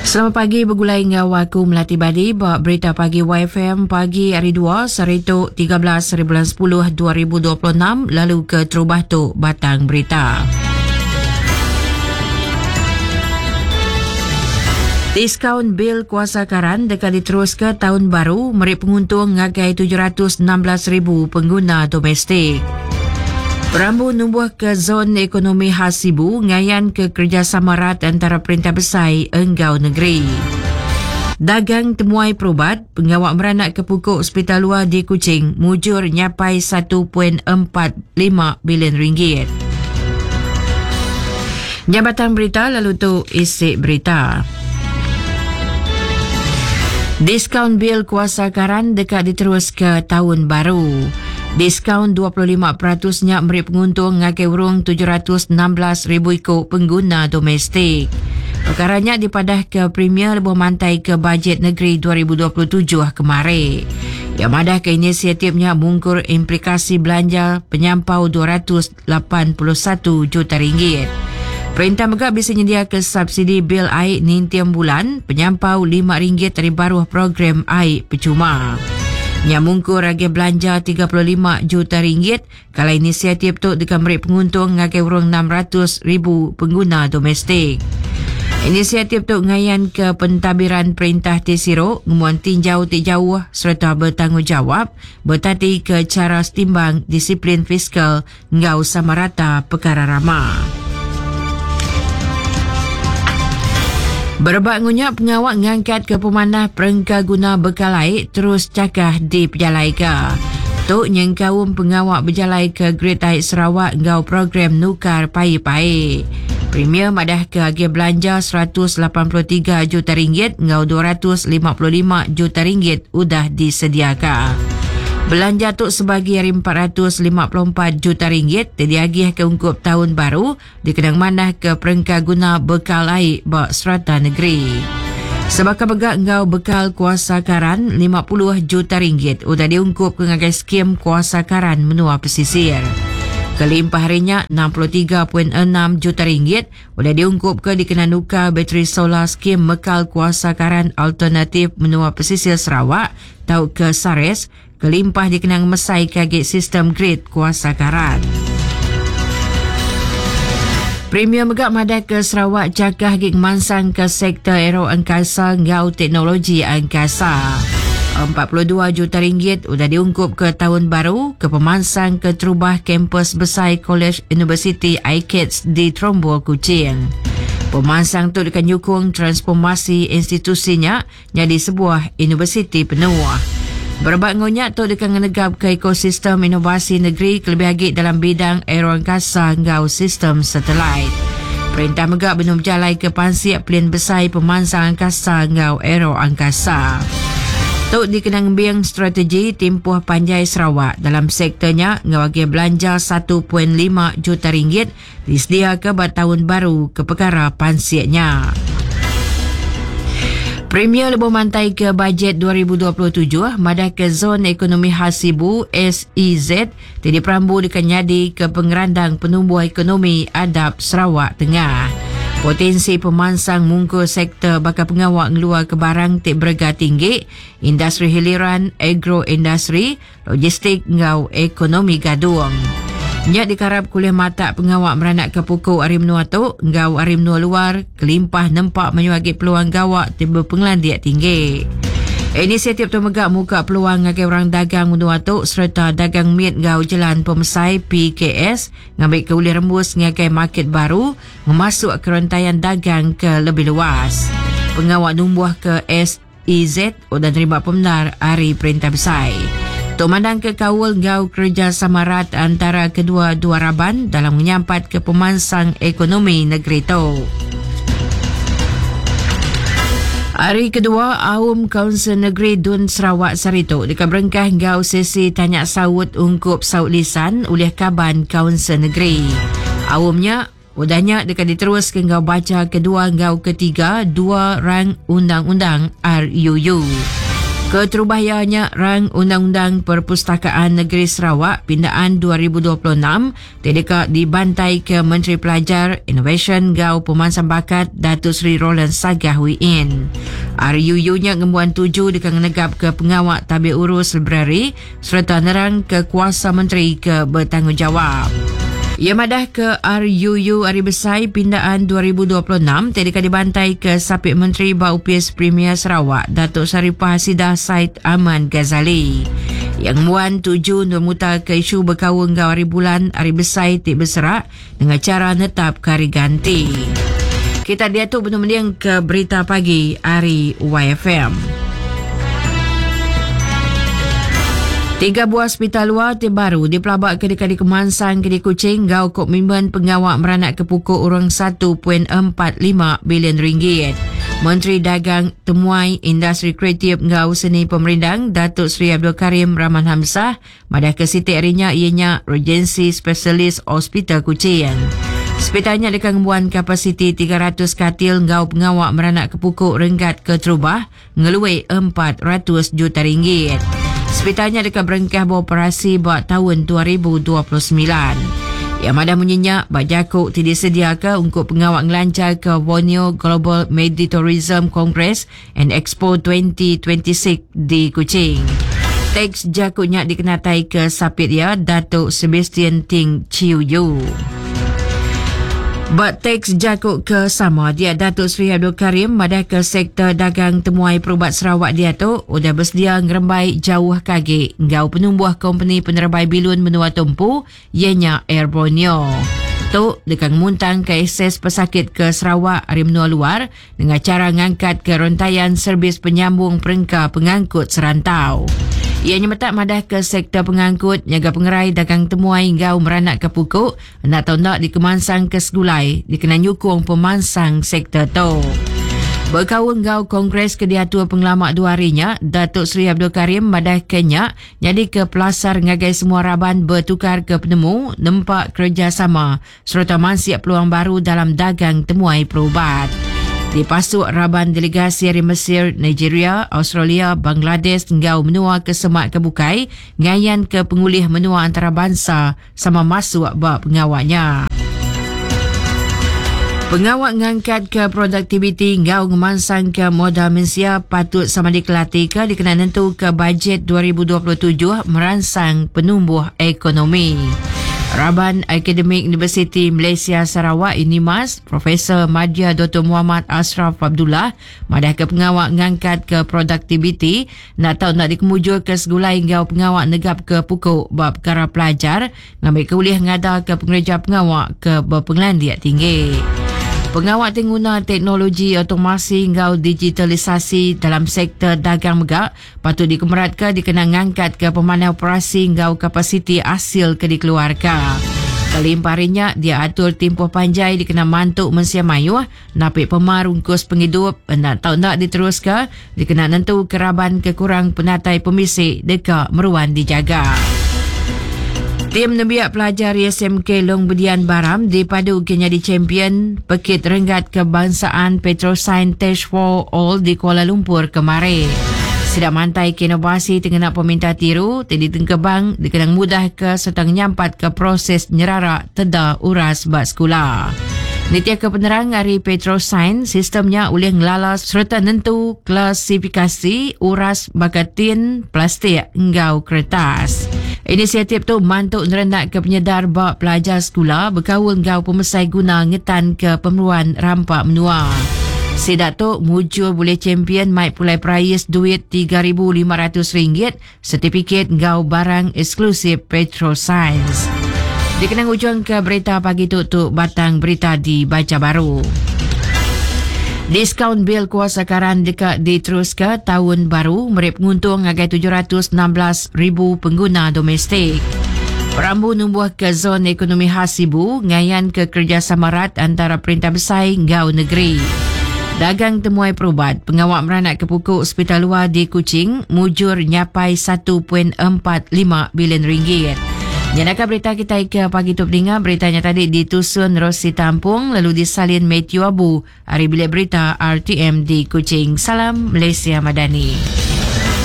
Selamat pagi begulai enggau aku Melati Badi ba Berita Pagi YFM pagi hari 2 sehari tu 13 hari bulan 10 2026 lalu ke terubah tu batang berita. Diskaun bil kuasa karan deka diteruska taun baru meri penguntung ngagai 716,000 pengguna domestik. Perambu numbuhka Zon Ekonomi Khas Sibu ngayanka kerejasama rat entara perintah besai enggau negeri. Dagang temuai perubat, pengawa meranakka puku sepital luar di Kuching mujur nyapai 1.45 bilion ringgit. Nya batang berita lalu tu isi berita. Diskaun bil kuasa karan deka diteruska taun baru. Diskaun 25% nya meri penguntung ngagai urung 716,000 iku pengguna domestik. Pekara nya dipadahka Premier lebuh mantaika Bajet Negeri 2027 kemari. Iya madahka inisiatif nya mungkur implikasi belanja penyampau 200 81 juta ringgit. Perintah mega bisi nyendiaka subsidi bil ai ninting bulan penyampau lima ringgit ari baruh program ai pechuma. Nya mungkur agih belanja 35 juta ringgit kala inisiatif tu deka meri penguntung ngagai urung 600 ribu pengguna domestik. Inisiatif tu ngayanka pentadbiran perintah ti siru, ngembuan tinjau ti jauh sereta betanggungjawap Betatika chara setimbang disiplin fiskal enggau sama rata pekara rama. Berebak ngunya pengawa ngangkatka pemanah perengka guna bekal ai terus chakah dipejalaika. Tu nyengkaum pengawa bejalaika Grid Ai Sarawak enggau program nukar paip ai. Premier madahka agih belanja 183 juta ringgit enggau 255 juta ringgit udah disediaka. Belanja tu sebagi ari 454 juta ringgit ti diagihka ungkup taun baru dikena ngemanahka perengka guna bekal ai ba serata negeri. Sebaka mega enggau bekal kuasa karan 50 juta ringgit udah diungkupka ngagai skim kuasa karan menua pesisir. Kelimpah ari nya, 63.6 juta ringgit Udah diungkupka dikena nukar bateri solar skim mekal kuasa karan alternatif menua pesisir Sarawak tauka SARES kelimpah dikena ngemesaika agi sistem grid kuasa karan. Premier mega madahka Sarawak chakah agi ngemansangka sektor aeroangkasa enggau teknologi angkasa. 42 juta ringgit udah diungkupka taun baru ke pemansang keterubah kampus besai Kolej Universiti ICATS di Trombol, Kuching. Pemansang tu deka nyukung transformasi institusi nya nyadi sebuah universiti penuh. Berebak enggau nya, tu deka ngenegapka ekosistem inovasi negeri kelebih agi dalam bidang aeroangkasa enggau sistem satelit. Perintah mega benung bejalaika pansik pelin besai pemansang angkasa enggau aeroangkasa. Tu dikena ngembing strategi timpuh panjai Sarawak dalam sektor nya enggau agih belanja 1.5 juta ringgit disediaka ba taun baru ke pekara pansik nya. Premier lebuh mantaika Bajet 2027 madahka Zon Ekonomi Khas Sibu, SEZ, ti diperambu deka nyadi ke pengerandang penumbuh ekonomi adap Sarawak Tengah. Potensi pemansang mungkur sektor baka pengawa ngeluarka barang ti berega tinggi, industri hiliran, agroindustri, logistik enggau ekonomi gadung. Nya dikarap kulih matak pengawa meranakka puku ari menua tu enggau ari menua luar kelimpah nempa mayuh agi peluang gawa ti bepengelandik tinggi. Inisiatif tu mega muka peluang ngagai orang dagang menua tu sereta dagang mit enggau jelan pemesai PKS ngambika ulih rembus ngagai market baru ngemasukka rentayan dagang ke lebih luas. Pengawa numbuhka SEZ udah nerima pemendar ari Perintah Besai. Tu mandangka kaul enggau kerejasama rat antara kedua-dua raban dalam ngenyampatka pemansang ekonomi negeri tu. Hari kedua Aum Kaunsil Negeri Dun Sarawak sehari tu deka berengkah enggau sesi tanya saut ungkup saut lisan ulih kaban Kaunsil Negeri. Aum nya udah nya deka diteruska enggau bacha kedua enggau ketiga dua rang undang-undang RUU. Keterubah iya nya Rang Undang-Undang Perpustakaan Negeri Sarawak Pindaan 2026 ti deka dibantaika Menteri Pelajar, Inovasyen enggau Pemansang Bakat Datuk Seri Roland Sagah Wee Inn. RUU nya ngembuan tuju deka ngenegapka pengawa tabik urus librari sereta nerangka kuasa menteri ke betanggungjawab. Iya madahka RUU Hari Besai Pindaan 2026 ti deka dibantaika Sapit Menteri ba Opis Premier Sarawak Datuk Sharifah Hasidah Said Aman Ghazali. Iya ngembuan tuju endur mutarka isu bekaul enggau hari bulan hari besai ti beserak nengah chara netapka hari ganti. Kita diatu benung mendingka Berita Pagi ari YFM. Tiga buah sepital luar ti baru dipelabaka deka dikemansangka di Kuching enggau komitmen pengawa meranakka puku urung 1.45 bilion ringgit. Menteri Dagang Temuai, Industri Kreatif enggau Seni Pemerindang Datuk Seri Abdul Karim Rahman Hamzah Madahka siti ari nya iya nya Regency Specialist Hospital Kuching. Sepital nya deka ngembuan kapasiti 300 katil enggau pengawa meranakka puku renggat keterubah ngelui 400 juta ringgit. Sepital nya deka berengkah beoperasi ba taun 2029. Iya madah munyi nya ba jaku ti disediaka ungkup pengawa ngelancharka Borneo Global Meditourism Congress and Expo 2026 di Kuching. Teks jaku nya dikenataika sapit iya Datuk Sebastian Ting Chiu Yu. Ba teks jaku ke sama dia Datuk Seri Abdul Karim madahka sektor dagang temuai perubat Sarawak diatu udah besedia ngerembai jauh ke agi enggau penumbuh kompeni penerebai bilun menua tu empu iya nya Air Borneo. Tu deka ngemuntangka akses pesakit ke Sarawak ari menua luar nengah chara ngangkatka rentayan servis penyambung perengka pengangkut serantau. Iya nyemetak madahka sektor pengangkut nyaga pengerai dagang temuai enggau meranakka puku enda tau enda dikemansangka segulai dikena nyukung pemansang sektor tu. Bekaul enggau kongres ke diatur pengelama dua hari nya, Datuk Seri Abdul Karim madahka nya nyadika pelasar ngagai semua raban betukarka penemu nempa kerejasama sereta mansik peluang baru dalam dagang temuai perubat. Dipasuk raban delegasi ari Mesir, Nigeria, Australia, Bangladesh enggau menua ke semak ke bukai ngayanka pengulih menua antarabansa sama masuk ba pengawa nya. Pengawa ngangkatka produktiviti enggau ngemansangka modal mensia patut sama dikelatika dikena nentuka bajet 2027 meransang penumbuh ekonomi. Raban Akademik Universiti Malaysia Sarawak, Unimas, Profesor Madya Doktor Muhammad Ashraf Abdullah madahka pengawa ngangkatka produktiviti enda tau enda dikemujurka segulai enggau pengawa negapka puku ba pekara pelajar ngambika ulih ngadaka pengereja pengawa ke bepengelandik tinggi. Pengawa ti nguna teknologi automasi enggau digitalisasi dalam sektor dagang mega Patut dikemeratka dikena ngangkatka pemanah operasi enggau kapasiti asil ke dikeluarka. Kelimpah ari nya, dia atur timpuh panjai dikena mantu mensia mayuh napi pemar ungkus pengidup enda tau enda diteruska dikena nentuka raban ke kurang penatai pemisi deka meruan dijaga. Tim nembiak pelajar SMK Long Bedian Baram dipadu ke nyadi champion Pekit Renggat Kebangsaan Petrosains Test for All di Kuala Lumpur kemari. Sida mantai ke inovasi ti ngena peminta tiru ti ditengkebang dikena ngemudahka sereta ngenyampatka proses nyerara teda uras ba sekula. Nitihka penerang ari Petrosains, sistem nya ulih ngelala sereta nentu klasifikasi uras baka tin, plastik enggau keretas. Inisiatif tu mantu nerenakka penyedar ba pelajar sekula bekaul enggau pemesai guna ngetanka pemeruan rampa menua. Sida tu mujur bulih champion mai pulai perais duit RM3,500, setipikit enggau barang eksklusif Petrosains. Dikena ngujungka berita pagi tu tu batang berita dibacha baru. Diskaun bil kuasa karan deka diteruska taun baru meri penguntung ngagai 716 ribu pengguna domestik. Perambu numbuhka Zon Ekonomi Khas Sibu ngayanka kerejasama rat antara perintah besai enggau negeri. Dagang temuai perubat, pengawa meranakka puku sepital luar di Kuching mujur nyapai 1.45 bilion ringgit. Nyenaka berita kitai ke pagi tu peninga, berita nya tadi ditusun Rosi Tampung lalu disalin Matthew Abu ari Bilik Berita RTM di Kuching. Salam Malaysia Madani.